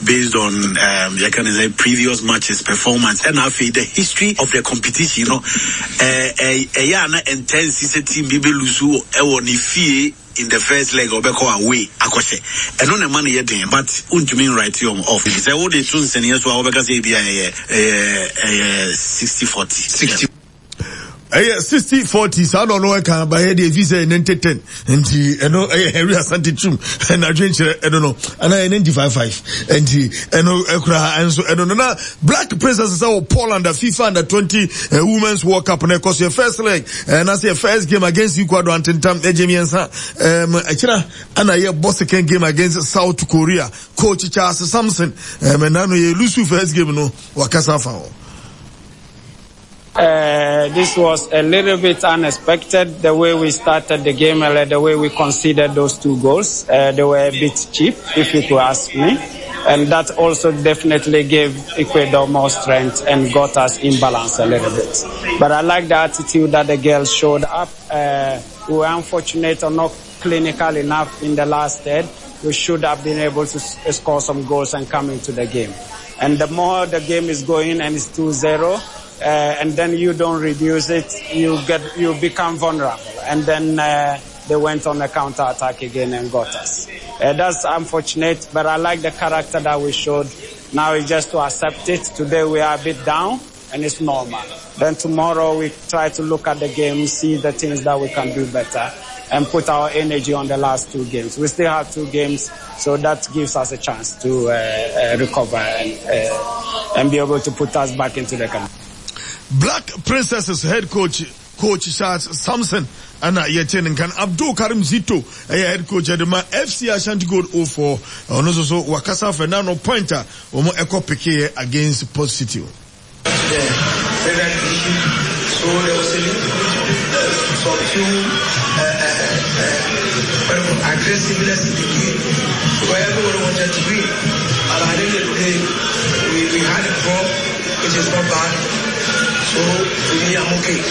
Based on um, yɛka ne sɛ previous matches performance ɛna afei the history of the competition no ɛyɛ a na ɛntɛnsi sɛ team bi bɛ lose ɛwɔ ne fie in the first leg ɔbɛkɔ away akɔhyɛ. Ɛno na ɛma no yɛ den, but wontumi nwrite wɔn off. Sɛ wode to nsɛnniɛ so a, wobɛka sɛ ebia ɛyɛ ɛyɛ ɛyɛ 60-40. 60 ɛyɛ 60-40 saa na ɔno ɛka bayɛ deɛ ɛfi sɛ 90-10 nti ɛno ɛyɛ Henry Asante Twum ɛna adwenkyerɛ ɛno no ɛna ɛyɛ 95-5 nti ɛno ɛkura ɛnso ɛno no na Black Princess sɛ wɔ Poland a FIFA Under 20 eh, Women's World Cup na ɛkɔ so yɛ first leg ɛna sɛ yɛ first game against Ecuador antentam ɛgye mmiɛnsa ɛm ɛkyina ɛna yɛ bɔ second game against South Korea. Coach Charles Sampson ɛm ɛna no yɛ lusu first game no wakasa afa ho. This was a little bit unexpected, the way we started the game and the way we conceded those two goals. They were a bit cheap, if you could ask me. And that also definitely gave Ecuador more strength and got us in balance a little bit. But I like the attitude that the girls showed up. We were unfortunate or not clinical enough in the last third. We should have been able to score some goals and come into the game. And the more the game is going and it's 2-0, and then you don't reduce it, you become vulnerable. And then they went on a counter-attack again and got us. That's unfortunate, but I like the character that we showed. Now it's just to accept it. Today we are a bit down, and it's normal. Then tomorrow we try to look at the game, see the things that we can do better, and put our energy on the last two games. We still have two games, so that gives us a chance to recover and be able to put us back into the country. Black Princesses head coach, Coach Charles Sampson, ɛna yɛte ne nkan. Abdul Karim Zito ɛyɛ head coach ɛde ma FC Ashanti Gold 04. Ɔno nso so wakasa afɛ na no point a wɔn ɛkɔ pekeɛ against Port City. To the federal division, so there was a little bit of some few aggressiveness in the game because everybody wanted to win. And at the end of the day, we had a draw, which is not bad. So to me, I'm okay.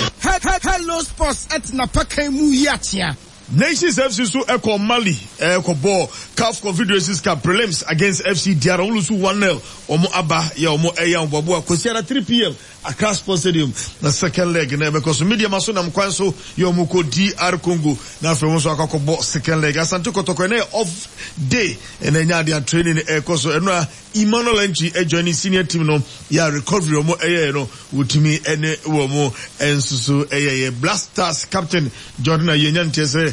Hello Sports at Napakan mu yi akyea. Nations FC nso kɔɔ Mali kɔbɔɔ CAF Confederations Cup prelims against FC Diarra. Wɔn lusu 1-0. Wɔn aba yɛ wɔn ɛyɛ ahoboaboa Kwasiada 3pm Accra Sports Stadium na second leg na ɛbɛkɔ so. Medeama so nam kwan so yɛ wɔn kɔ DR Congo na afei wɔn nso akɔ akɔbɔ second leg. Asante Kɔtɔkɔ ɛnɛ yɛ off day ɛna ɛnya adeɛ a training ɛkɔ so. Ɛno a Emmanuel Antwi joining senior team no yɛ a recovery wɔn ɛyɛɛ no wɔtumi ɛne wɔn nso so ɛyɛyɛ. Black Stars captain Jordan Ayew anya nteɛ sɛ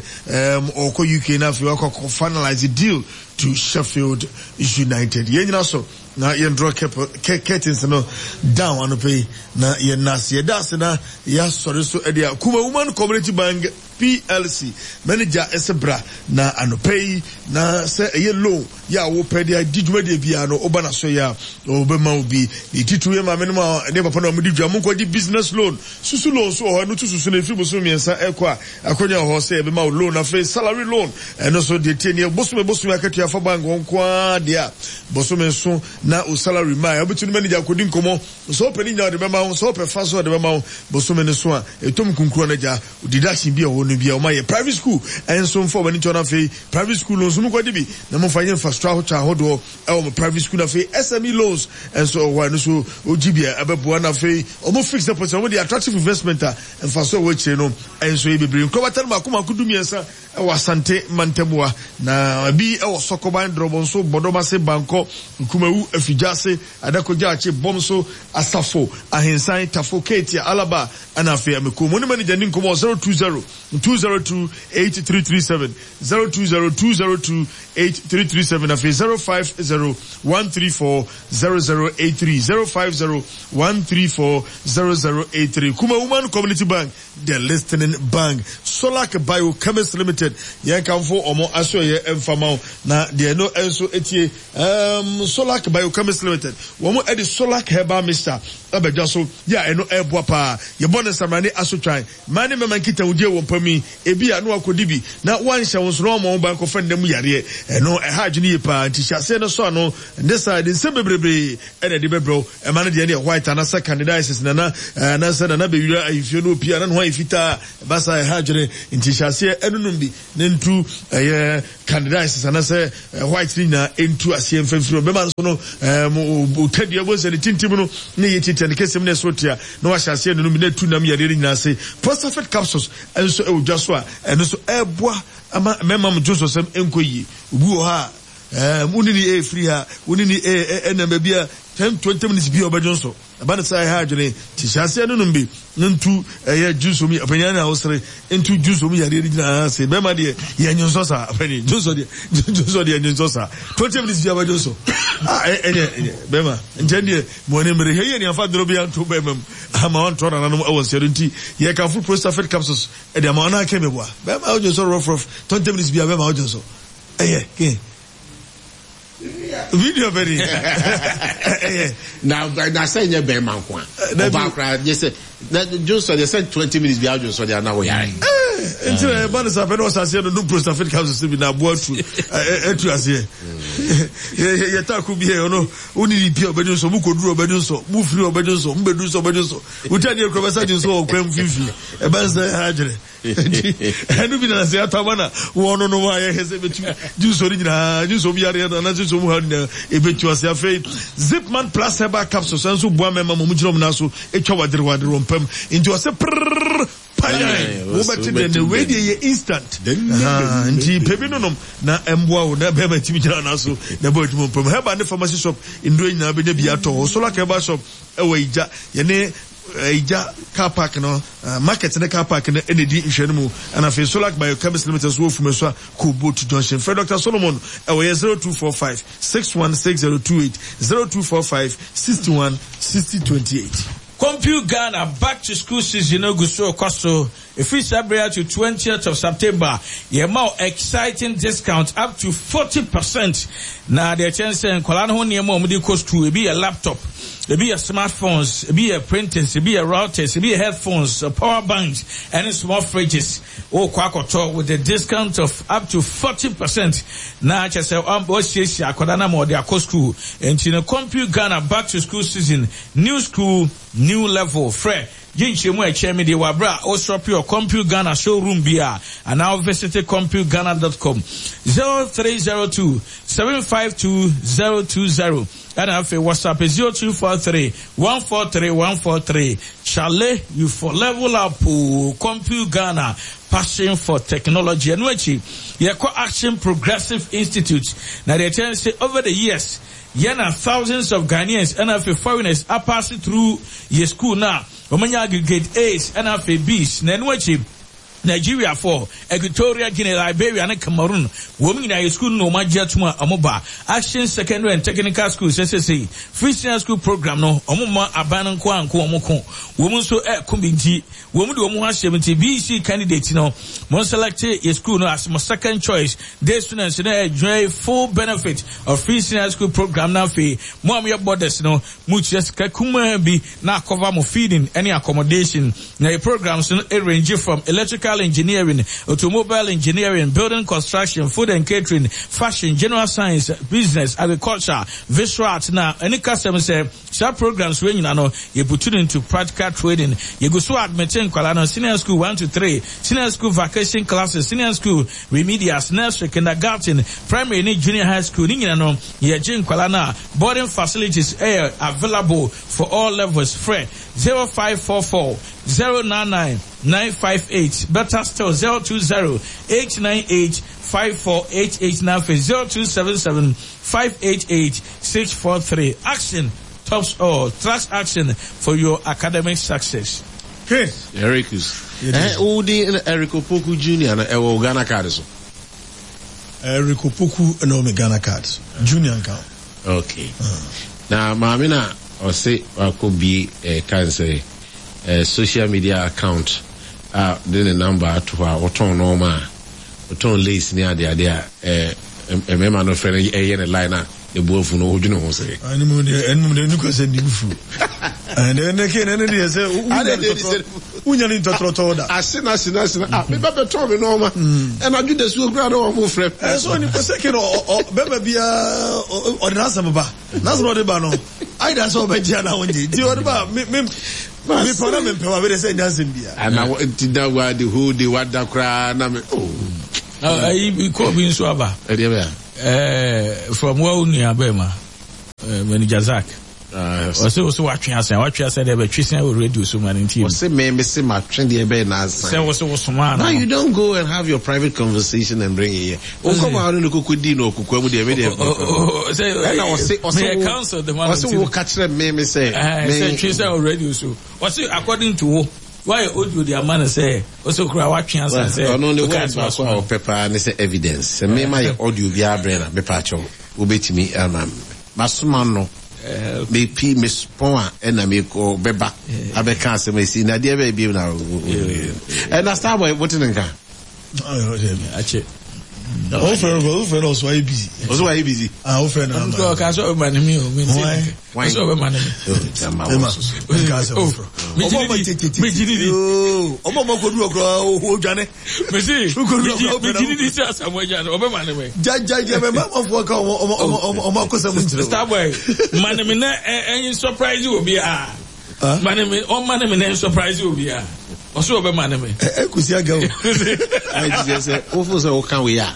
ɔkɔ UK na afei wakɔ akɔ finalize deal to Sheffield United. Yɛn nyina so na yɛn draw curtains no down anɔpɛ yi na yɛn na ase yɛda ase na yɛasɔre so ɛde a Kuma Woman Community Bank PLC manager ɛsɛ bra na anɔpɛ yi na sɛ ɛyɛ loan yɛ a wopɛ de adi dwumadie biara no woba n'aso yɛ a wɔbɛma wo bi. Ne titiriw yɛ maame nom a ne papa no a wɔde dwa monkɔgye business loan susu loan nso wɔ hɔ ɛno to susu no ɛfiri bosome mmiɛnsa ɛkɔ a akɔnya wɔ hɔ sɛ yɛbɛma wo loan. Afei salary loan ɛno nso deɛ tie neɛ bosome bosome akatua fa bank hɔ nko ara deɛ a bosome nso na wo salary ma a wobɛtumi ne manager akɔdi nkɔmmɔ sɛ wopɛ ne nyinaa ɔde bɛma wo sɛ wopɛ fa so ɔde bɛma wo bosome no so a ɛtɔm kunkuro no agya Deduction bi a ɛwɔ no bi a wɔn ayɛ private school nso nfa wɔn ani nkyɛn na afei private school no nso mo kɔ de bi na mo nfa nyɛ infrastructure ahodoɔ ɛwɔ mo private school na afei SME loans nso ɛwɔ hɔ ɛno nso ogye bi a ɛbɛboa na afei wɔn fixed deposit wɔn de attractive investment a nfaso ɛwɔ akyire no nso yɛ bebree nkorabata no mako mako du mmiɛnsa ɛwɔ Asante mantamua na ebi ɛwɔ Sɔkɔban Drɔbɔnso Bɔdɔmase Bankɔ Nkumawu Afigyaase Adako Gyaakye Bɔmso Asafo Ahensan Tafo Keetia Alaba Ɛna afei mekɔɔ mu ne manager ni nkɔmmɔ 020 202 8337, 020 202 8337, afei 050 134 0083, 050 134 0083. Kuma Woman Community Bank, the listening bank. Solac Biochemist Limited, yɛn kamfo wɔn asoɛyɛ mfa ma wo. Na deɛ ɛno nso etie, Solac Biochemist Limited, wɔn de Solac Herbal Mixture aba dwa so yɛ a ɛno ɛreboa paa. Yɛbɔ no nsamrane asotwan. Mmaa ne mmarima nkitahodie wɔ mpa mu yi, ebia na wakɔdi bi na wanhyɛ wo nso na wamma wo ba nkɔfa nna mu yareɛ. Ɛno ɛha adwene yie paa nti hyɛ aseɛ na sɔ ano. Ɛnyɛ saa a, ɛde nsɛm bebrebe na ɛde bɛbrɛ wo. Ɛma no deɛ ɛne white anaasɛ candidiasis nana anaasɛ nana bɛwira ahemfie no opie a na ne ho ayɛ fitaa. Ɛba saa a ɛha adwene nti hyɛ aseɛ nom bi na ntu ɛyɛ candidiasis anaasɛ white no nyinaa ntu aseɛ mfiri. mfa mfiri hɔ. Bɛma nso no ɛɛm otadua bɔ nsɛ ne tintim no ne yɛ tiatia ne kɛsɛm ne ɛso tia na wahyɛ aseɛ no nom na etu nam yareɛ no nyinaa ase. Prostafit capsules nso ɛwɔ dwa so a ɛno nso ɛɛboa ama mmarima mo dwonsɔsɛm nkɔ yie. Obi wɔ hɔ a ɛɛm wo ne ne ɛɛfiri ha wo ne ne ɛɛnam baabi a 10 20 minutes bi a ɔbɛdwonsɔ. Ɛba no saa a, ɛha adwene. Nti hyɛ aseɛ nonom bi na ntu ɛyɛ dwonsɔ mu ɔpanyin na wosere ntu dwonsɔ mu yareɛ no nyinaa ase. Bɛrima deɛ yɛ nwonsɔ saa ɔpanyin dwonsɔ deɛ dwonsɔ deɛ nwonsɔ saa. 20 minutes bi abɛdwonsɔ. Ah ɛnyɛ ɛnyɛ bɛrima nkyɛn deɛ mo ani mmere hwɛ yie ne afa duro bi anto bɛrima mu ama wɔntɔ nananom ɛwɔ nseɛ do nti yɛkamfo Prostafit capsules ɛde ama ɔno akɛ meboa bɛrima wodwonsɔ rough rough 20 minutes bi a bɛrima wodwonsɔ ɛyɛ ke Video bɛ ni. Ɛyɛ. Na na sɛ nyɛ bɛrima nko a. Ɔbaa koraa gye sɛ na Johnson deɛ sɛ 20 minutes bi a Johnson deɛ na woyare. Nti na ɛba no saa pɛ na ɔhyɛ aseɛ no nom prostafit capsules bi na aboa atu atu aseɛ. Yɛ taako bi yɛ ɔno wo ne ne pia ɔbɛdwo nsɔ mu kɔduru ɔbɛdwo nsɔ mu firi ɔbɛdwo nsɔ mu bɛduru nsɔ ɔbɛdwo nsɔ wotwa deɛ kura bɛsa dwo nsɔ wɔ kwan mfimfini ɛba nsɛ ha adwene. Nti ɛno bi na sɛ yɛatɔ ama na wɔnonom a yɛhwɛ sɛ ɛbɛtu dwonsɔ no nyinaa dwonsɔ mu yareɛ no anaasɛ dwonsɔ mu haw no nyinaa ɛbɛtu ase. Afei Zipman Plus Herbal Capsules nso boa mmarima ma wɔgyina wɔn nan so twa waderewadere wɔn pam. Nti ɔsɛ prrrr panyan wobɛte dɛ na wei deɛ yɛ instant. Nti pɛ bi nonom na ɛmboa wo na bɛrima tumi gyina nan so na ɛbɔ adwuma pam. Herbal ne pharmacy shop nnuro nyinaa bɛnya bi atɔ hɔ. Solar Herbal Shop ɛwɔ Igya yɛne Igya car park no Market ne car park no na ɛdi nhwɛ no mu. Ɛna afei Solac Biochemist Limited nso wɔ Fumesua Kobotu Junction. Frɛ Dr. Solomon ɛwɔ yɛ 0245 616028, 0245 61 60 28. Compute Ghana back to school season no gu so rekɔ so. Ɛfiri saa berɛ yi to 20th of September, yɛma wo exciting discount up to 40%. Na deɛ ɛkyɛ ne sɛ nkwadaa no ho nneɛma a wɔde kɔ school, ebi yɛ laptop, Ebi yɛ smartphones, ebi yɛ printers, ebi yɛ routers, ebi yɛ headphones, power banks, ɛne small fridges. Wokɔ akɔtɔ with a discount of up to 40%. Na kyerɛ sɛ wɔasiesie akwadaa no ama ɔde akɔ school. Nti no Compute Ghana back to school season, new school, new level. Frɛ gye nkyerɛmu a ɛkyɛn me deɛ wɔ aberɛ a wo shop wɔ Compute Ghana showroom bi a anaa wo visit computeghana.com 0302 752 020. Ɛna afei WhatsApp 0243 143 143 Chale you for level up oo Compute Ghana passion for technology Ɛno akyi yɛkɔ Action Progressive Institute na deɛ ɛkyɛ ne sɛ over the years yɛn na thousands of Ghanaians ɛna afei foreigners apaase through yɛ school no a wɔanya aggregate A's ɛna afei B's na ɛno akyi Nigeriafoɔ, Equatorial Guinea, Liberia ne Cameroon, wɔn nyinaa yɛ sukuu no na wɔn agye atom a wɔn ba Action Secondary and Technical School sɛ sesei Free Senior School Program no wɔn mma aban no nko ara nko wɔn ko wɔn nso ɛko bi nti wɔn de wɔn ho ahyɛ mu nti BEC candidate no mo select yɛ school no as mo second choice day students no enjoy full benefit of Free Senior School Program na afei mo a mo yɛ boarders no mo tua sika kumaa bi na akɔva mo feeding ne accommodation. Na yɛ programs no range from electrical engineering, automobile engineering, building construction, food and catering, fashion, general science, business, agriculture, visual arts na ɛne kasɛm sɛ saa programs wei nyina no yɛ putu no into practical training. Yɛgu so admit nkwadaa no senior school 1 to 3, senior school vacation classes, senior school remedials, nursery, kindergarten, primary ne junior high school ne nyina no yɛgye nkwadaa no a boarding facilities ɛyɛ available for all levels. Frɛ 0544 099 958, better still 020 898 5488 na afei 0277 588 643. Action tops all. Trust action for your academic success. Hey. Ericus. Eh, wo din Eric Opoku Junior no ɛwɔ Ghana card so? Eric Opoku na ɛwɔ me Ghana card so. Junior nka ho. Okay. Na maame na ɔse wakɔ bie eh, kan sɛ eh, social media account a de ne number ato hɔ a ɔtɔn nɔɔma a ɔtɔn lace ne ade ade a eh, mmarima no frɛ no ɛyɛ ne line a ne bo afu no wodwene ho sɛ. Ɛno mu deɛ ɛno mu deɛ ɛnu kwasɛ ne bu fu. Ɛnɛ ɛnɛ ke ɛnɛ deɛ sɛ wonya ne ntɔtrɔtɔ da. Ase na ase na ase na ah meba bɛtɔn me nɔɔma ɛna adwo da suo koraa na wɔn frɛ. Ɛsɛ onipa sɛ ke no bɛma biara ɔde n'asɛm ba n'asɛm ɔde ba no ayɛ da sɛ ɔbɛgye anaa ɔngye nti ɔde ba me me mepɛ na mempɛ wa mede sɛ nya nsɛm biara. Ana nti da wa the whole day wada koraa na me oh. Ayi kɔɔ bi nso aba. Ɛdeɛ bɛyɛ. Eh, from wo nua bɛrima, eh, manager Zach. Ɔsɛ wo sɛ watwe asan, watwe asan deɛ bɛtwe san wɔ radio so ma no nti. Ɔsɛ me me se matwe deɛ bɛyɛ na asan. Sɛ wo sɛ wo somaa no. Now you don't go and have your private conversation and bring it here. Wo kɔ ma no koko di no okukua mu deɛ me deɛ. Ɛna ɔsɛ ɔsɛ wo ɔsɛ wo ka kyerɛ me me sɛ. Me sɛ twe sɛ wɔ radio so. Ɔsɛ according to wo. Wayɛ audio de ama no sɛ ɔsɛ okura watwe asan sɛ. Ɔno ne word baako a ɔpɛ paa ne sɛ evidence. Sɛ me ma yɛ audio biara brɛ na mepa akyɛw wobɛtumi ama me. Masoma no mepi mespɔn a ɛna mekɔ bɛba abɛka asɛm esi na deɛ bɛyɛ biem na ɛna Starboy wote ne nka. Akyɛ. Wofrɛ no wofrɛ no ɔso ayɛ busy. Ɔso ayɛ busy. Ah wofrɛ no ama. Ɔka sɛ ɔbɛma ne mi o mi nti. Why? Ɔsɛ ɔbɛma ne mi. Ema nka asɛm foforɔ. Ɔmo ɔmo tete. Megye di. Ɔmo ɔmo kodu ɔkura ɔdwane. Mesi megye di di sɛ Asamoah Gyan ɔbɛma ne mi. Gya gya mɛ mɛ amanfoɔ ka ɔmo ɔmo ɔmo ɔmo akosɛm nkyerɛ. Starboy ma ne mi na ɛnyi surprise obi a. Ma ne mi ɔma ne mi na surprise obi a. Ɔsɛ ɔbɛma ne mi. Ɛ kusi aga o. Ayi ti sɛ sɛ wofo sɛ woka wei a.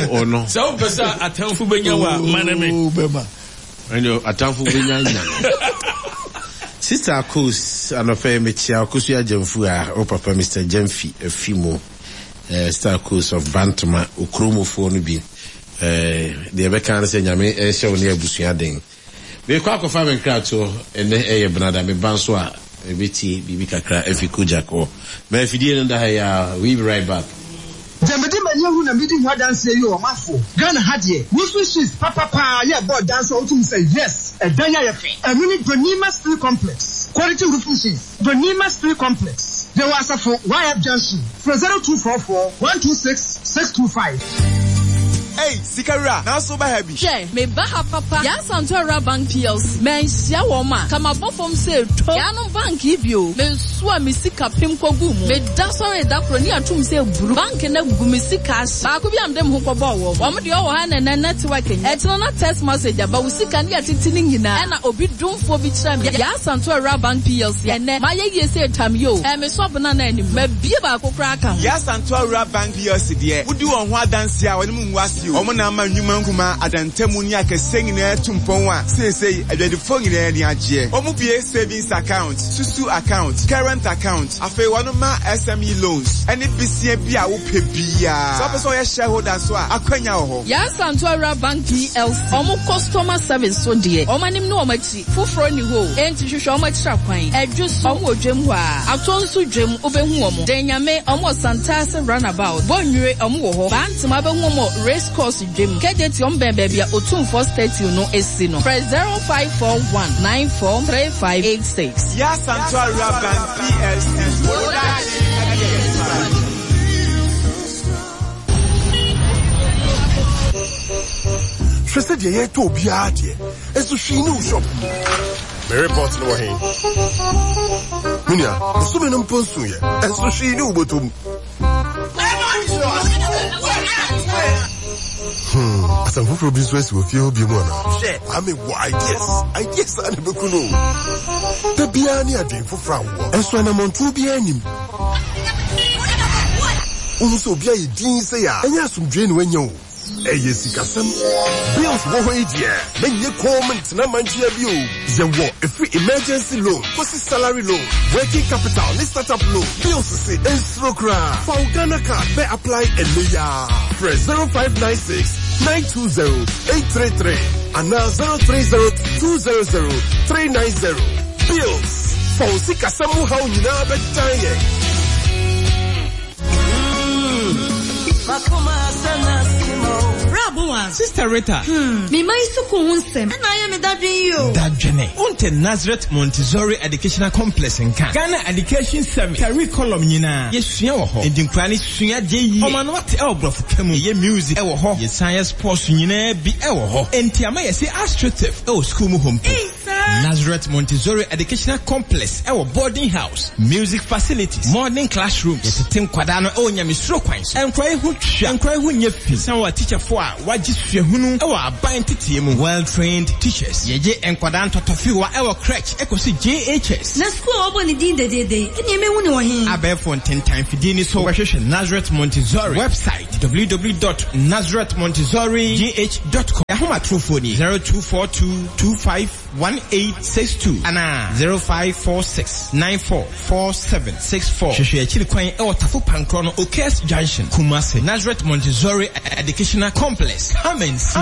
Ɔno. Sɛ wopɛ sɛ atamfo bɛnya wo a, ma ne me. Bɛma. Ɛnde atamfo bɛnya nya no. Sister Akos, anɔpa yi mekyia Akosua Gyamfu a wo papa Mister Gyamfi afi mu. Eh, Sister Akos of Bantama, Okuromufoɔ no bi. Eh, deɛ ɛbɛka ne sɛ Nyame nhyɛ wo ne abusua den. Merekɔ akɔfa me nkratoɔ, ɛnnɛ ɛyɛ Benada, meba nso a mebɛtie biribi kakra afi Kojak hɔ. Ma afidie no nda ha yi ara, we be right back. Deɛ mede m'ani ahu na medi ho adanseɛ yi o ɔmanfoɔ, Ghana ha deɛ roofing sheets papa paa yɛ ɛbɔ dan so a wotumi sɛ yes ɛdan yi ayɛ fɛ. Ɛno ne Donima Steel Complex quality roofing sheets, Donima Steel Complex, yɛwɔ Asafo YF Junction, frɛ 0244 126 625. Ei, sika wura, nanso woba ha bi? Hwɛ, meba ha papa. Yaa Asantewaa Rural Bank PLC, Manhyia wɔn a, ka mabɔ fam sɛ to. Yaanom bank yi bio, mensoa me sika pem kɔguu mu. Meda sɔree da koro ne atom sɛ buru. Bank no agu me sika ahye. Baako bi a mede me ho kɔbɔɔ wɔn. Wɔn deɛ ɔwɔ ha nnɛ network nyɛ. Ɛkyena na text message aba, wo sika ne yɛatete ne nyinaa. Ɛna obi domfoɔ bi kyerɛɛ me Yaa Asantewaa Rural Bank PLC. Ɛnnɛ, mayɛ yie sɛ tam yi o. Ɛɛ, me sɔ bena no anim. Mabie baako koraa aka ho. Yaa Asantewaa Rural Bank PLC deɛ, wodi wɔn ho adanseɛ a wɔne mo ngu ase. Wɔn na ama nnwuma nkumaa, adantamu ne akɛseɛ nyinaa atu mpɔn a seesei adwadifoɔ nyinaa ani agyeɛ. Wɔbue savings account, susu account, current account, afei wɔma SME loans ne besia bi a wopɛ biara. Sɛ wopɛ sɛ woyɛ shareholder nso a, akwanya wɔ hɔ. Yaa Asantewaa Rural Bank PLC, wɔn customer service so deɛ, wɔn anim ne wɔn akyi, foforɔ nni hɔ o, enti hwehwɛ wɔn akyiri akwan. Adwo so, wɔn wɔ dwam hɔ ara. Atɔ nso dwam, wobɛhu wɔn. Den Nyame, wɔn wɔ Santase Runabout. Bonnwire, wɔn wɔ hɔ. Bantama, wobɛhu wɔn wɔ Race Course dwam. Kejetia, wɔn bɛn baabi a Otumfoɔ Statue no si no. Frɛ 0541 943586. Yaa Asantewaa Rural Bank PLC, wo daakye ne yɛn agyapadeɛ. Hwɛ sɛdeɛ yɛretɔ obiara adeɛ, nso hwee nni wo shop mu. Me report no wɔ he? Me nua, bosome no mpo nsoeɛ, nso hwee nni wo bɔtɔ mu. Hmm, asɛm foforɔ bi nso asi wɔ fie hɔ bio mu anaa? Hwɛ, Kwame wɔ ideas. Ideas a na ɛbɛku no o. Da biara ne adwene foforɔ a wowɔ, nso anammɔntuo biara nnim. Wohu sɛ obi ayɛ dinn sei a, ɛnyɛ asomdwoe na wanya o. Ɛyɛ sikasɛm. Bills wɔ hɔ yi deɛ, mɛnyɛ komm ntena mankyea bio. Yɛwɔ ɛfiri emergency loan kɔsi salary loan, working capital ne startup loan. Bills se nsuro koraa. Fa wo Ghana card bɛ apply ɛnnɛ yi ara. Frɛ 0596 920 833 anaa 030 200 390. Bills, fa wo sikasɛm mu haw nyinaa bɛdan yɛn. Sister Rita. Hmm, me mma yi sukuu ho nsɛm na ayɛ me dadwen yi o. Dadwene. Wonte Nazareth Montessori Educational Complex nka? Ghana Education Service curriculum nyinaa yɛsua wɔ hɔ. Enti nkwadaa no sua adeɛ yie. Wɔn ano ate wɔ borɔfo ka mu. Yɛyɛ music wɔ hɔ. Yɛsan yɛ sports nyinaa bi wɔ hɔ. Enti ama yɛse astroturf wɔ sukuu mu hɔ mpo. Ei, saa? Nazareth Montessori Educational Complex wɔ boarding house, music facilities, modern classrooms. Yɛtete nkwadaa no wɔ nyamesuro kwan so. Nkwadaa yi ho twa, nkwadaa yi ho nyɛ fi. San wɔ atikyafoɔ a wɔagye suahunu wɔ aban nteteɛ mu, well trained teachers. Yɛgye nkwadaa ntɔtɔfewa wɔ crèche kɔsi JHS. Na sukuu a wɔbɔ ne din dedeede yi, ɛnneɛ mɛhu no wɔ he? Abɛɛfo ntentan fidie ni so wobɛhwehwɛ Nazareth Montessori website www dot nazarethmontessorigh dot com. Yɛn ahomatorofoɔ nie, 0242 25 1862 anaa 0546 94 4764. Hwehwɛ akyiri kwan wɔ Tafo Pankrɔ no Okes Junction, Kumasi, Nazareth Montessori Educational Complex. Come and see.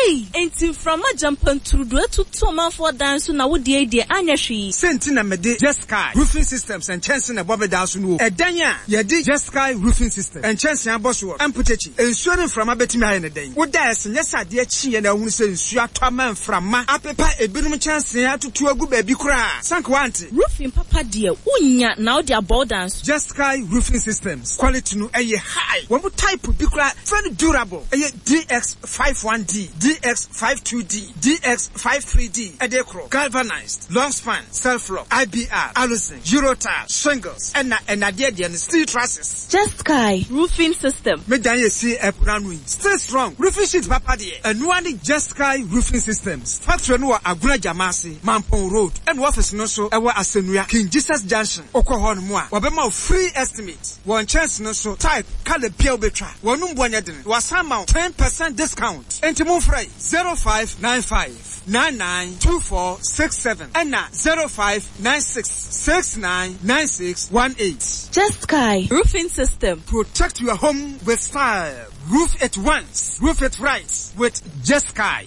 Ei! Enti mframa gyampantrudu atutu ɔmanfoɔ dan so na wo deɛ yi deɛ anyɛ hwee. Sɛ nti na mede Jeskai Roofing Systems nkyɛnse na ɛbɔ me dan so no o. Ɛdan a yɛde Jeskai Roofing Systems nkyɛnse abɔ soɔ mpokyekye, nsuo ne mframa bɛtumi ayɛ no dɛn? Wo da a ɛse nyɛ sɛ adeɛ kyeeɛ na wohunu sɛ nsuo atɔ ama mframa apepa ebinom nkyɛnsee atutu agu baabi koraa. Sɛ anka woante. Roofing papa deɛ wonnya na wode abɔ wo dan so. Jeskai Roofing Systems quality no ɛyɛ high. Wɔn type bi koraa very durable. Ɛyɛ DX51D, DX52D, DX53D ɛde korɔ, galvanized, long span, self lock, IBR, aluzinc, Eurotile, shingles ɛna ɛnadeɛ deɛ no steel trusses. Jeskai Roofing System. Me dan yɛ si ɛpono ano yi still strong roofing sheet papa deɛ ɛnoa ne Jeskai Roofing Systems factory no wɔ Agona Gyamase, Mampong Road ɛna office no nso ɛwɔ Asɛnua, King Jesus Junction wokɔ hɔ nom a wɔbɛma wo free estimate wɔ nkyɛnse no so type, colour bia wobɛtwa wɔnom boɔ nyɛ dene wɔasan ma wo 10% discount enti momfrɛ 0595 992467 ɛna 0596 699618. Jeskai Roofing System. Protect your home with style. Roof it once, roof it right with Jeskai.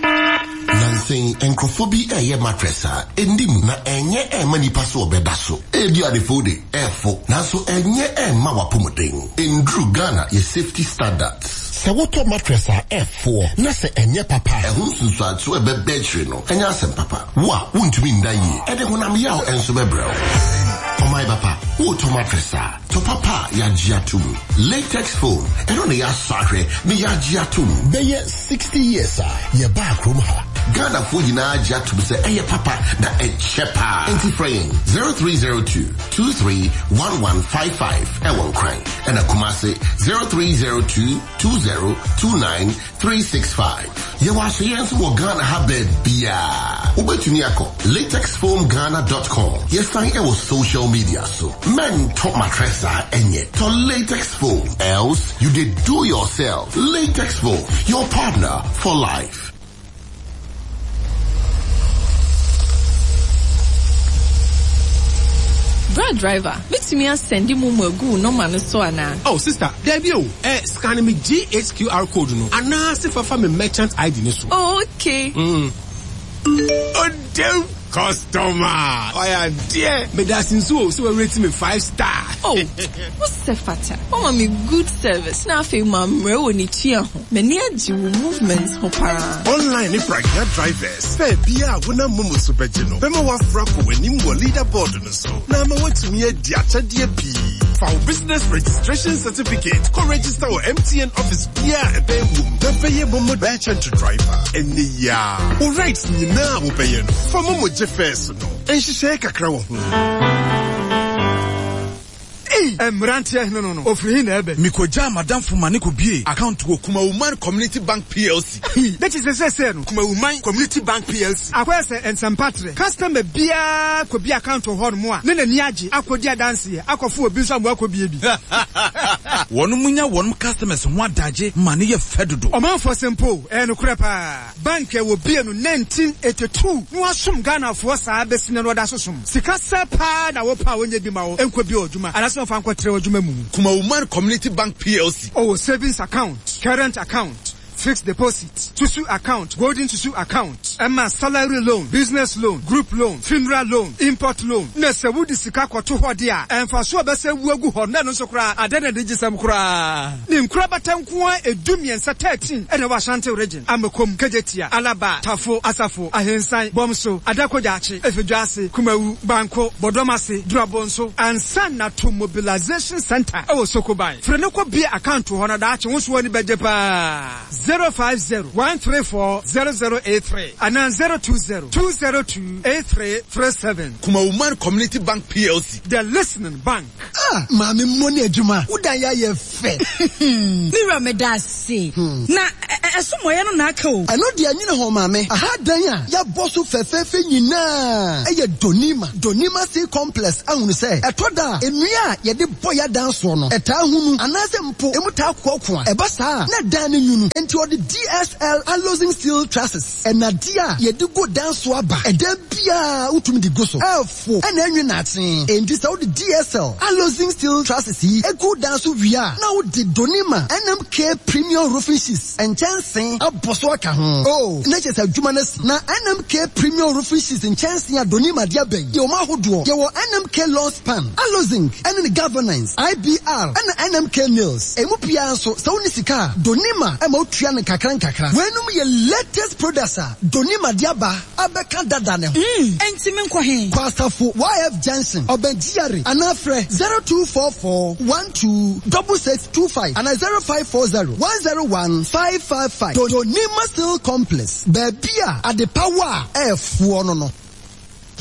Nnansa yi, nkurɔfoɔ bi reyɛ mattress a ɛnni mu na ɛnyɛ ɛmma nipa sɛ ɔbɛda so. Ebi adefo de, ɛfo, nanso ɛnyɛ ɛmma w'apɔmuden. Ɛnduru Ghana yɛ safety standards. Sɛ wotɔ mattress a ɛfoɔ na sɛ ɛnyɛ papa a, ɛho nsunsuansoɔ a ɛbɛba akyire no nyɛ asɛm papa. Wo a wontumi nda yie, ɛde honam yaw nso bɛbrɛ wo. Ɔman papa, woretɔ mattress a, tɔ papa a yɛagye atom. Latex foam, ɛno na yɛasɔ ahwɛ na yɛagye atom. Bɛyɛ 60 years a yɛbaa kurom ha. Ghanafoɔ nyinaa agye atom sɛ ɛyɛ papa na ɛkyɛ paa. Enti frɛ yɛn 0302 231155 ɛwɔ Nkran ɛna Kumase 0302 2029365. Yɛwɔ asoyɛ nso wɔ Ghana ha baabiara. Wobɛtumi akɔ latexfoamghana.com. Yɛsan ɛwɔ social media so. Mɛntɔ mattress a ɛnyɛ. Tɔ latex foam. Else you dey do yourself. Latex foam, your partner for life. Bra driver, mɛtumi asɛnde momo agu wo nɔma no so anaa? Oh sister, daabi o, eh, scan me GHQR code no anaa se fa fa me merchant ID no so. Oh okay. Mm. Odem customer, wayɛ adeɛ. Medase nso o, sɛ wa rate me 5 star. Oh, wo sɛ fata. Wama me good service na afei mammrɛ wɔ ne tua ho. M'ani agye wo movement ho paa. Online ne pragya drivers, fare biara a wonam momo so bɛgye no bɛma woaforo akɔ w'anim wɔ leaderboard no so na ama woatumi adi akyɛdeɛ pii. Fa wo business registration certificate kɔ register wɔ MTN office biara a ɛbɛn wo mu na bɛyɛ momo merchant driver ɛnnɛ yi ara. Wo rides nyinaa a wobɛyɛ no, fa momo gye fares no. Nhyehyɛe kakra wɔ ho. Ei! Mmeranteɛ hene no no, ɔfiri he na ɛɛbɛ? Mekɔgyaa m'adamfo ma ne kɔbuee account wɔ Kumawuman Community Bank PLC. Hi! Ne kyesɛ seesei no, Kumawuman Community Bank PLC. Akɔyɛ sɛ nsɛmpatrɛ, customer biara kɔbue account wɔ hɔnom a, ne n'ani agye akɔdi adanseɛ, akɔfo obi nso ama wakɔbue bi. Wɔnom nya wɔnom customers ho adagye ma no yɛ fɛ dodo. Ɔmanfoɔ se mpo o, ɛyɛ nokorɛ paa. Bank a wɔbue no 1982 na wɔasom Ghanafoɔ saa bɛsi nnɛ no wɔda so som. Sika sɛ paa na wopɛ a wɔnyɛ bi ma wo nkɔbue w'adwuma anaasɛ wɔmfa nkɔtrɛ w'adwuma mu. Kumawuman Community Bank PLC. Ɔwɔ savings account, current account, fixed deposit, susu account, golden susu account, ɛma salary loan, business loan, group loan, funeral loan, import loan. Na sɛ wode sika kɔto hɔ de a, mfasoɔ a ɛbɛsɛ wu agu hɔ no na ɛno nso koraa adɛn na anigyesɛm koraa. Ne nkorabata nko ara dumiɛnsa, 13, na ɛwɔ Ashanti Region. Amakom, Kejetia, Alaba, Tafo, Asafo, Ahensan, Bɔmso, Adako Jachie, Efidwase, Kumawu, Banko, Bɔdɔmase, Durabonso, ansa na to Mobilization Centre wɔ Sokoban. Frɛ no kɔ bue account wɔ hɔ na daakye wo nso w'ani bɛgye paa. 050 134 0083 anaa 020 202 8337. Kumawuman Community Bank PLC. The Listening Bank. Ah maame mmɔ ne adwuma wo dan yɛ ayɛ fɛ. Me wura meda ase. Na ɛso mmɔeɛ no na aka o. Ɛno deɛ nwene ho maame. Aha dan a yɛabɔ so fɛfɛɛfɛ nyinaa yɛ Donima, Donima Sea Complex ahunu sɛ ɛtɔ da a nnua a yɛde bɔ yɛn adan soɔ no ɛtaa hunu anaasɛ mpo emu taa koakoa. Ɛba saa a na dan no nwunu. Enti ɔde DSL Alozing Steel Trusses, nnadeɛ a yɛde gu dan so aba. Ɛdan biara wotumi de gu so. Fo na ɛnwe naakye. Enti sɛ wode DSL Alozing Steel Trusses yi gu dan so wie a, na wode Donima NMK Premium Roofing Sheets nkyɛnsee abɔ so aka ho. Oh, na kyerɛ sɛ adwuma no asi. Na NMK Premium Roofing Sheets nkyɛnsee a Donima de aba yi yɛ wɔn ahodoɔ. Yɛwɔ NMK Long Span, Alozing ne ne Galvanized, IBR, ɛna NMK Nails. Emu biara nso, sɛ wonni sika a, Donima ma wotua no nkakrankakra. Weinom yɛ latest products a Donima de aba. abɛka dada ne ho. Mm, enti menkɔ he? Kɔ Asafo YF Junction, ɔbɛn GRA, anaa frɛ 0244 12 6625 anaa 0540 101 555. Donima Steel Complex, baabi a adepa wɔ a ɛɛfoɔ no no.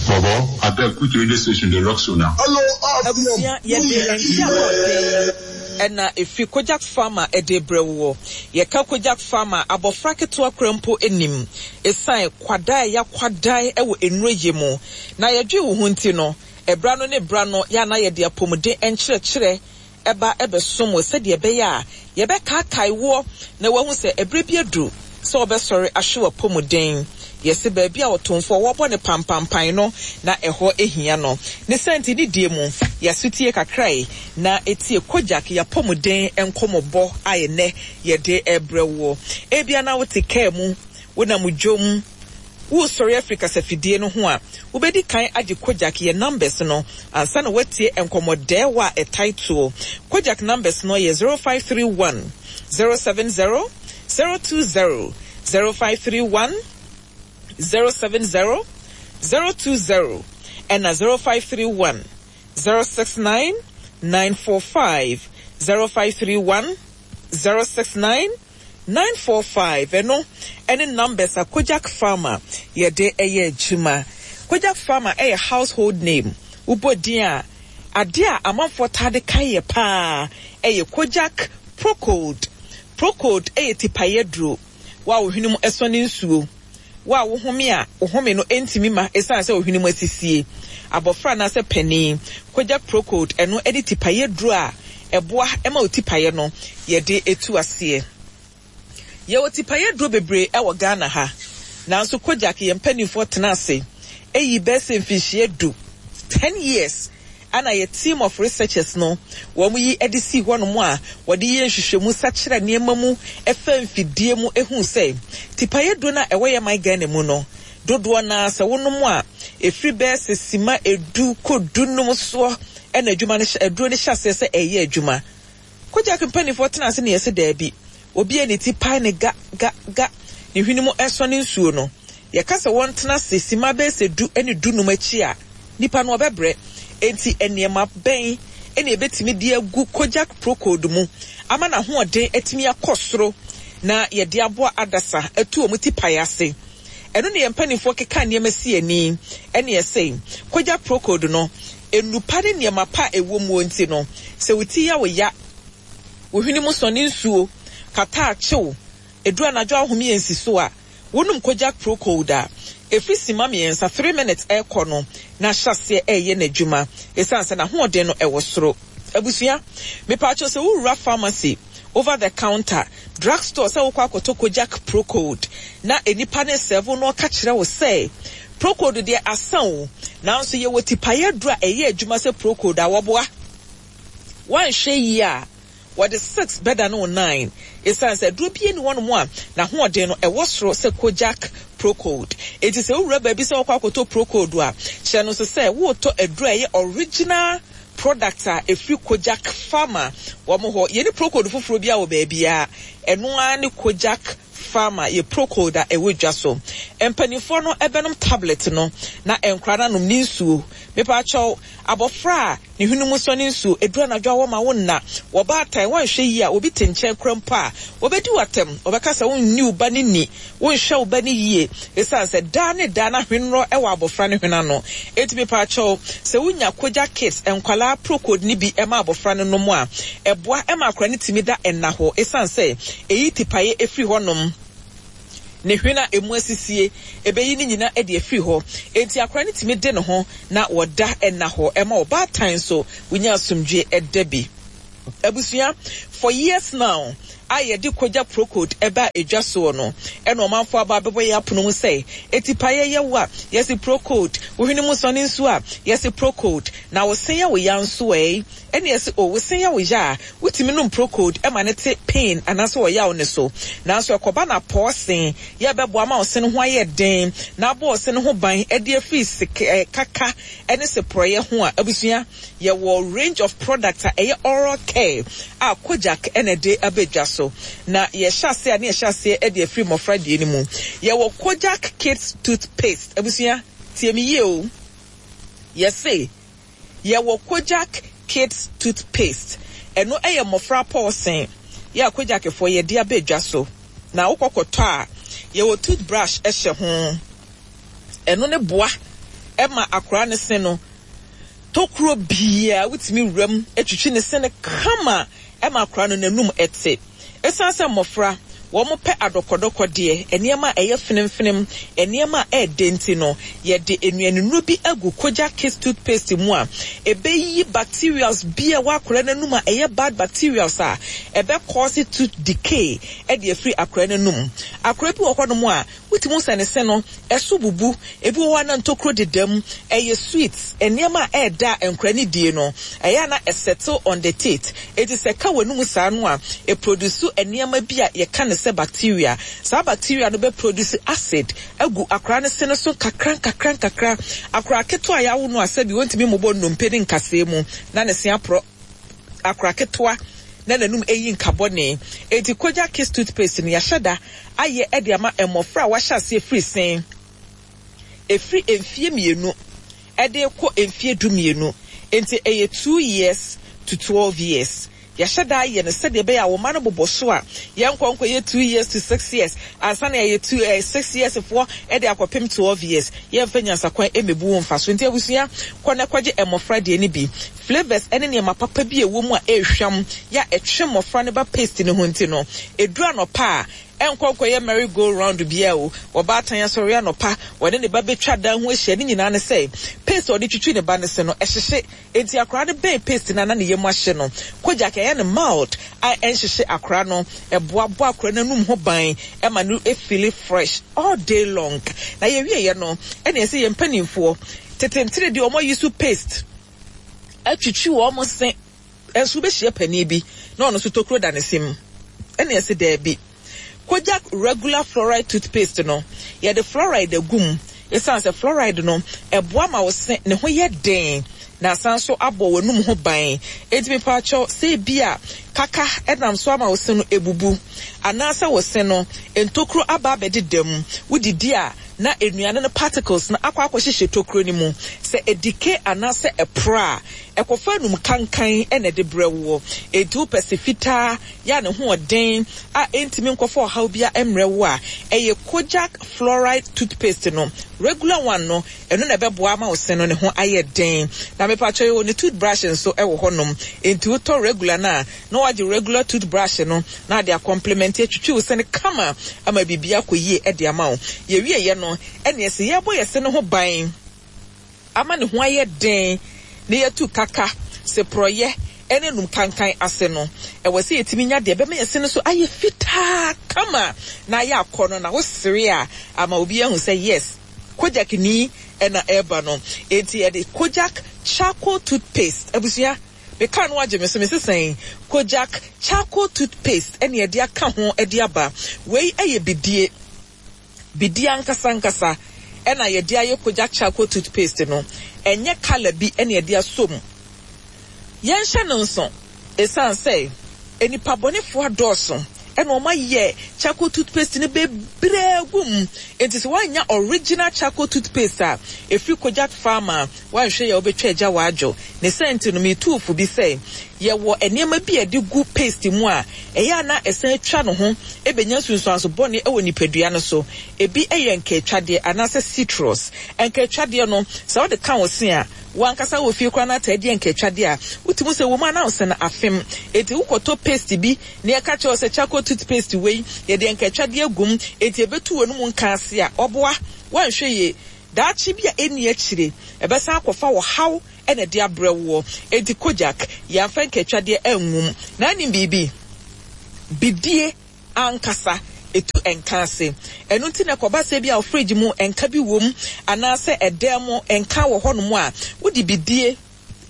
Bobo, abeg which radio station dey rock so now? Abusua, yɛde nkyea ahoɔden na ɛfiri Kojak Pharma de rebrɛ woɔ. Yɛka Kojak Pharma a, abɔfra ketewa koraa mpo nim. Ɛsiane kwadaa a yɛakwadae wɔ nnuro yɛ mu na yɛdwee wo ho nti no, ɛberɛ ano ne berɛ ano yɛ a na yɛde apɔmuden nkyerɛkyerɛ ba bɛsom wo sɛdeɛ ɛbɛyɛ a yɛbɛkaakae woɔ na woahu sɛ ɛberɛ bi aduru sɛ wobɛsɔre ahwe w'apɔmuden. Yɛse baabi a ɔtomfoɔ wɔbɔ no pampampan no na ɛhɔ hia no. Ne saa nti ne die mu yɛasotie kakra yi na tie Kojak y'apɔmuden nkɔmɔbɔ a ɛnnɛ yɛde rebrɛ woɔ. Ebia na wote kaa mu, wonam dwom, Woresɔre afiri kasafidie no ho a, wobɛdi kan agye Kojak yɛ numbers no ansa na woatie nkɔmmɔdɛɛwa a ɛtae toɔ. Kojak numbers no yɛ 0531 070 020, 0531 070 020 ɛna 0531 069 945, 0531 069 945 ɛno ɛne numbers a Kojak Pharma yɛde ɛyɛ adwuma. Kojak Pharma ɛyɛ household name. Wobɔ din a, adeɛ a amanfoɔ taa de kae yɛ paa ɛyɛ Kojak Procold. Procold ɛyɛ tipaeɛ aduro. Wo a wo hwene mu ɛsɔ ne nsuo, wo a wo home a wo home no ɛntumi ma ɛsiane sɛ wo hwene mu asisie, abɔfra anaasɛ panin, Kojak Procold ɛno ɛne tipaeɛ aduro a ɛboa ɛma wo tipaeɛ no yɛde ɛtu aseɛ. Yɛwɔ tipaeɛ aduro bebree ɛwɔ Ghana ha, nanso Kojak yɛn mpaninfoɔ tena ase ɛyi bɛyɛ sɛ mfinhyia du, 10 years, Ɛna yɛ team of researchers no wɔn yi de sii hɔ nom a wɔde yɛ nhwehwɛmu sakyera nneɛma mu ɛfa mfidie mu ɛhuu sɛ tipaeɛ duro no a ɛwɔ yɛ man Ghana mu no dodoɔ no ara sɛ wo nom a ɛfiri bɛyɛ sɛ sima ɛdu kɔ du num soɔ ɛna adwuma no hyɛ aduro no hyɛ aseɛ sɛ ɛyɛ adwuma. Kojak mpaninfoɔ tena ase na yɛse daabi, obi a ne ti pae ne ga ga ga, ne hwene mu ɛsɔne nsuo no, yɛka sɛ wɔntena ase simma bɛyɛ sɛ du ne du num akyi a, nipa no ɔbɛbrɛ. Enti nneɛma bɛn na yɛbɛtumi de agu Kojak Procold mu ama n'ahoɔden atumi akɔ soro na yɛde aboa adasa atu wɔn ti pae ase? Ɛno na yɛn mpanimfoɔ keka nneɛma si ani ɛne ɛsɛ. Kojak Procold no, nnupa ne nneɛma pa a ɛwɔ muo nti no, sɛ wo ti yɛ wo ya, wo hwene mu sɔ ne nsuo, kataa kye wo, ɛduru anadwo a wohome yɛ nsi so a, wonom Kojak Procold a, ɛfiri simma mmiɛnsa, three minutes, rekɔ no, na ahyɛ aseɛ reyɛ n'adwuma ɛsiane sɛ n'ahoɔden no wɔ soro. Abusua, mepaakyɛw sɛ wowura pharmacy, over the counter, drug store sɛ wokɔ akɔtɔ Kojak Procold na nnipa no resɛɛve wo na ɔka kyerɛ wo sɛ Procold deɛ asa o, nanso yɛwɔ tipaeɛ aduro a ɛyɛ adwuma sɛ Procold a wɔboa. Woanhwɛ yie a, wɔde six bɛdane wo nine esiane sɛ aduro biara nni hɔnom a n'ahoɔden no ɛwɔ soro sɛ Kojak Procold. Enti sɛ wowura baabi sɛ wokɔ akɔtɔ Procold a, kyerɛ no nso sɛ woretɔ aduro a ɛyɛ original product a ɛfiri Kojak Pharma wɔn hɔ. Yɛnni Procold foforɔ biara wɔ baabiara. Ɛno ara ne Kojak Pharma yɛ Procold a ɛwɔ dwa so. Mpanimfoɔ no bɛnom tablet no na nkwadaa no anom ne nsuo. Mepaakyɛw, abɔfra a ne hwene mu sɔ ne nsuo, ɛduru anadwo a wɔma wo nna, wɔ baatan, woanhwɛ yie a obi te nkyɛn koraa mpo a, wɔbɛdi wo atɛm, wɔbɛka sɛ wonni wo ba no ni, wonhwɛ wo ba no yie, ɛsiane sɛ daa ne daa na hwenorɔ wɔ abɔfra no hwene ano. Enti mepaakyɛw, sɛ wonya Kojak Kids nkwadaa Procold no bi ma abɔfra no nom a, ɛboa ma akwadaa no tumi da nnahɔɔ ɛsiane sɛ ɛyi tipaeɛ firi hɔnom. Ne hwene a emu asisie, ebeyi ne nyina de afiri hɔ. Enti akora no tumi de ne ho na wɔda nna hɔ. Ɛma ɔbaatan nso wonya asomdwie da bi. Abusua, for years now a yɛde Kogya Procode baa edwa soɔ no, ɛna ɔmanfoɔ aba abɛbɔ yɛn apono mu sɛ, atipaeɛ yɛ wo a, yɛse Procode, wo hwene mu sɔne nsuo a, yɛse Procode, na wo se yɛ wo ya nso ɛ? Ɛna yɛse oh wo se yɛ wo ya a, wotumi nom Procold ma no te pain anaasɛ ɔyaw no so. Nanso ɛkɔba no apɔɔ se yɛ bɛboa ma wo se no ho ayɛ den na abɔ wo se no ho ban de afiri se kaka ne se porɔeɛ ho a, abusua, yɛwɔ range of products a ɛyɛ oral care a Kojak na ɛde aba dwa so. Na yɛhyɛ aseɛ a na yɛhyɛ aseɛ de afiri mmɔfra deɛ no mu. Yɛwɔ Kojak Kids Toothpaste. Abusua, tie me yie o. Yɛse. Yɛwɔ Kojak Kids Toothpaste. Ɛno yɛ mmɔfra pɔɔsen yɛ a Kojakfoɔ yɛde aba dwa so. Na wokɔ kɔtɔ a, yɛwɔ toothbrush hyɛ ho. Ɛno no boa ma akwadaa no se no tokuro biara wotumi wura mu twitwi ne se no kama ma akwadaa no n'anum te. Esiane sɛ mmofra, wɔpɛ adɔkɔdɔkɔdeɛ, nneɛma a ɛyɛ fenemfenem, nneɛma a ɛyɛ dɛ nti no, yɛde nnuanennuro bi agu Kojak Kids Toothpaste mu a ɛbɛyi bacterials bi a ɛwɔ akwadaa no anum a ɛyɛ bad bacterials a ɛbɛ cause tooth decay de afiri akwadaa no anum. Akwadaa bi wɔ hɔnom a, wotumi hu sɛ ne se no, Ɛso bubu, ebi wɔ hɔ a na ntokuro deda mu, ɛyɛ sweet, nneɛma a ɛyɛ dɛ a nkwadaa no die no, ɛyɛ a na ɛsettle on the teeth, enti sɛ ɛka w'anum saa no a, ɛproduce nneɛma bi a yɛka no sɛ bacteria. Saa bacteria no bɛ produce acid agu akwadaa no se no so nkakra nkakra nkakra. Akwadaa ketewa a yɛawo no a sɛbi ɔntumi mmobɔ nnompe ne nkasɛɛ mu na ne se aporɔ. Akora ketewa na n'anum ayi nka bɔne. Enti Kojak Kids Toothpaste no, yɛahyɛ da ayɛ de ama mmɔfra a wɔahyɛ aseɛ firi se ɛfiri mfeɛ mmienu de rekɔ mfeɛ dumienu. Enti ɛyɛ two years to 12 years. Yɛahyɛ da ayɛ no sɛdeɛ ɛbɛyɛ a wo mma no bobɔ so a, yɛnkɔ nkɔyɛ two years to six years ansa na yɛayɛ two eh, six years foɔ de akɔpem 12 years. Yɛmfa nyansakwan mmɛbu wo mfaso. Nti abusua, kɔ na kɔgye mmɔfra deɛ no bi. Flavours ne nneɛma papa bi a ɛwɔ mu a ɛrehwam yɛ a ɛtwe mmɔfra no ba paste no ho nti no, ɛduru anɔpa a, ɛnkɔ nkɔyɛ merry go round biara o. Ɔbaatan asɔre anɔpa, ɔne ne ba bɛtwa dan ho ahyia, ne nyinaa ne sɛ paste a ɔde twitwi ne ba no se no, ɛhyehye. Enti akwadaa no bɛn paste no a na ne yam ahye no. Kojak ɛyɛ no mild a ɛnhyehye akwadaa no, ɛboa bɔ akwadaa no anum ho ban ma no feeli fresh all day long. Na yɛwieɛ no, ɛna ɛsɛ yɛn mpanimfoɔ, tete ntere deɛ wɔn ayi so paste, atwitwi wɔn se nso wobɛhyia panin bi na ɔno nso tokuro da ne se mu ɛna ɛse daabi. Kojak regular fluoride toothpaste no yɛde fluoride agu mu ɛsiane sɛ fluoride no ɛboa ma wo se ne ho yɛ den na asan nso abɔ w'anum ho ban. Enti mepaakyɛw sɛ ebi a kaka ɛnam so ama wo se no ebubu anaasɛ wo se no ntokuro aba abɛdeda mu, wodidi a na nnuane no particles no akɔ akɔhyehyɛ tokuro no mu. Sɛ ɛdecay anaasɛ ɛporɔ a, ɛkɔfa anum kankan na ɛde brɛ woɔ. Enti wopɛ se fitaa yɛ a ne ho ɔden a ɛntumi nkɔfa ɔhaw biara mmrɛ wo a, ɛyɛ Kojak Fluoride Toothpaste no, regular one no, ɛno na ɛbɛboa ama wo se no ne ho ayɛ den. Na mepakyɛw yɛwɔ ne toothbrush nso wɔ hɔnom. Enti wotɔ regular no a, na woagye regular toothbrush no na ade akɔmplemɛnte atwitwi wo se no kama ama biribi akɔ yie de ama wo. Yɛwieɛ no, ɛneɛ sɛ yɛrebɔ yɛ se no ho ban ama ne ho ayɛ den na yɛatu kaka, seporɔyɛ ne anum kankan ase no, ɛwɔ sɛ yɛtumi nya deɛ ɛbɛma yɛ se no so ayɛ fitaa kama na ayɛ akɔnnɔ na wosere a ama obi ahu sɛ yes, Kojak ni na ɛreba no. Enti yɛde Kojak Charcoal Toothpaste, abusua, Me car no agye me so, mese sɛn? Kojak charcoal toothpaste ɛna yɛde aka ho de aba. Wei yɛ bidie, bidie ankasa ankasa ɛna yɛde ayɛ Kojak charcoal toothpaste no. Ɛnyɛ colour bi ɛna yɛde asɔ mu. Yɛnhyɛ no nso, ɛsiane sɛ nnipa bɔnefoɔ adɔɔso. Ɛna wɔn ayɛ charcoal toothpaste no bebree agu mu. Enti sɛ woannya original charcoal toothpaste a ɛfiri Kojak Pharma a, woanhwɛ yie a wobɛtwa agya w'adwo. Ne saa nti no, metu wo fo bi sɛ, yɛwɔ nneɛma bi a yɛde gu paste mu a ɛyɛ a na ɛsan twa ne ho bɛnya nsunsuanso bɔne wɔ nipadua no so. Ebi yɛ nkaatwadeɛ anaasɛ citrus. Nkaatwadeɛ no, sɛ wode ka wo se a, Wo ankasa wɔ fie koraa na ataa di ankaatwadeɛ a, wotumi hu sɛ wɔ mu a na wo se no afem. Enti wokɔtɔ paste bi na yɛka kyerɛ wo sɛ charcoal toothpaste wei, yɛde ankaatwadeɛ agu mu, enti ɛbɛtu w'anum nka ase a, ɔboa. Woanhwɛ yie, daakye bi a ɛnni akyire, ɛbɛsan akɔfa ɔhaw na ɛde abrɛ woɔ. Enti Kojak, yɛamfa ankaatwadeɛ angu mu. Na wonim biribi? Bidie. ankasa etu nka ase. Ɛno nti na ɛkɔba sɛ ebia wo fridge mu nka bi wom anaasɛ ɛdan mu nka wɔ hɔnom a, wode bidie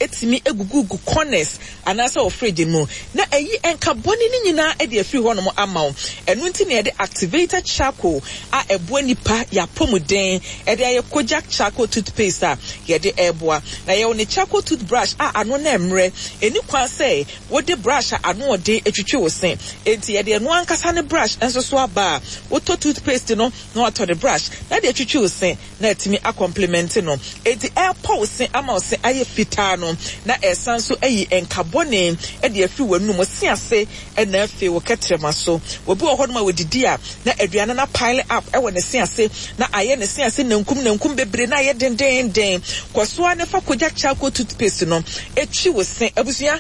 tumi gugugu corners anaasɛ wɔ fridge no mu na ayi nka bɔne no nyinaa de afiri hɔnom ama wo. Ɛno nti na yɛde activated charcoal a ɛboa nnipa yɛn apɔmuden de ayɛ Kojak charcoal toothpaste a yɛde reboa. Na yɛwɔ ne charcoal toothbrush a ano no mmrɛ. Ɛnni kwan sɛ Wode brush a ano ɔden twitwi wo se. Enti yɛde ɛno ankasa ne brush nso so aba a, wotɔ toothpaste no na watɔ ne brush na de atwitwi wo se na atumi akɔmplemɛnte no. Enti ɛrepɔ wo se ama wo se ayɛ fitaa no, na ɛresan nso ayi nka bɔne de afiri w'anum, wo se ase na afei wo kɛtrɛma so. Obi wɔ hɔnom a ɔdidi a, na aduane no apile up wɔ ne se ase na ayɛ ne se ase nankum nankum bebree na ayɛ dendeenden. Kɔ so ara na fa Kojak Charcoal Toothpaste no twi wo se. Abusua,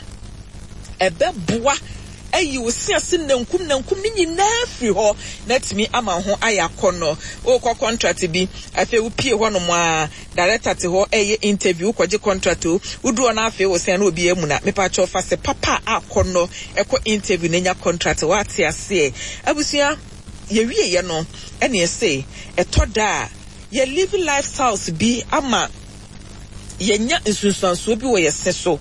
ɛbɛboa ayi wo se ase nankum nankum no nyinaa afiri hɔ na atumi ama wo ho ayɛ akɔnnɔ. Worekɔ contract bi, afei wopue hɔnom a, director te hɔ reyɛ interview, wokɔgye contract o, woduru hɔ na afei wo se na obi amuna. Mepakyɛw fa se papa a akɔnnɔ kɔ interview na nya contract. Woate aseɛ? Abusua, yɛwieɛ no ɛna yɛse ɛtɔ da a yɛ live lifestyles bi ama yɛanya nsunsuansoɔ bi wɔ yɛ se so.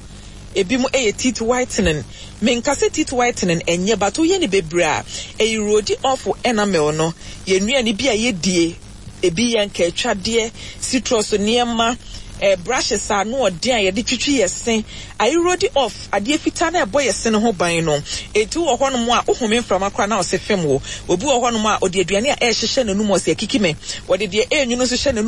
Ebinom yɛ teeth whitening. Menka sɛ teeth whitening ɛnyɛ but woyɛ no bebree a, ɛerode off wo enamel no. Yɛn nnuane bi a yɛdie, ebi yɛ nkaatwadeɛ, citrus nneɛma, eh, brushes a ano ɔden a yɛde twitwi yɛ se, aerode off adeɛ fitaa no a ɛbɔ yɛ se no ho ban no. Enti wowɔ hɔnom a, wohome mframa koraa na wo se fem wo. Obi wɔ hɔnom a, ɔde aduane a ɛrehyehyɛ n'anum, ɔse akiki me. Ɔde deɛ ɛrenwunu nso hyɛ n'anum.